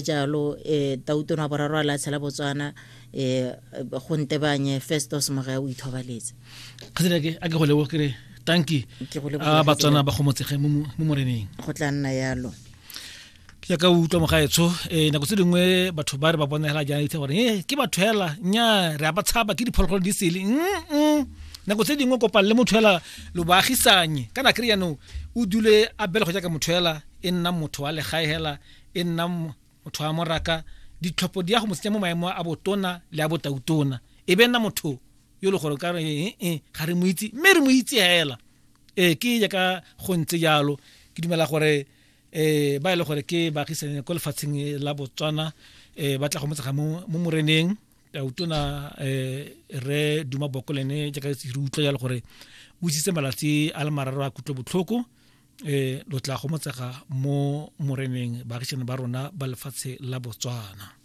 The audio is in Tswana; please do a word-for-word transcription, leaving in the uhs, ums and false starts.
Jalo eh tautona boraro a latlhela Botswana eh go ntebanye Festus Mogae o ithobaletse. Kgatsedi ke a ke go leboge, ke re tanki. Ke go leboga. A Batswana ba gomotsege mo mo moreneng. Go tla nna yalo. Ke jaaka o utlwa, mogaetsho, um nako tse dingwe batho ba re ba bona hela jaana itse gore e ke batho hela, nya re a ba tshaba, ke diphologolo di sele. Mm nako tse dingwe kopang le motho hela lo baagisanye kana kry jaanong o dule a belego jaaka motho hela, e nna motho wa legae hela, e nna motho wa moraka. Ditlhopho di ya go mo tsenya mo maemo a botona le a botautona, e be nna motho yo le gore ka re ee ga re mo itse, mme re mo itse hela. Ee, ke jaaka go ntse jalo. Ke dumela gore eh ba e le gore ke baagisane ko lefatsheng la Botswana eh ba tla go motsega mo mo moreneng. Tautona eh re Duma Boko le ene, jaaka re utlwa jalo gore o isitse malatsi a le mararo a kutlo botlhoko, eh lo tla go motsega mo moreneng, baagisane ba rona ba lefatshe la Botswana.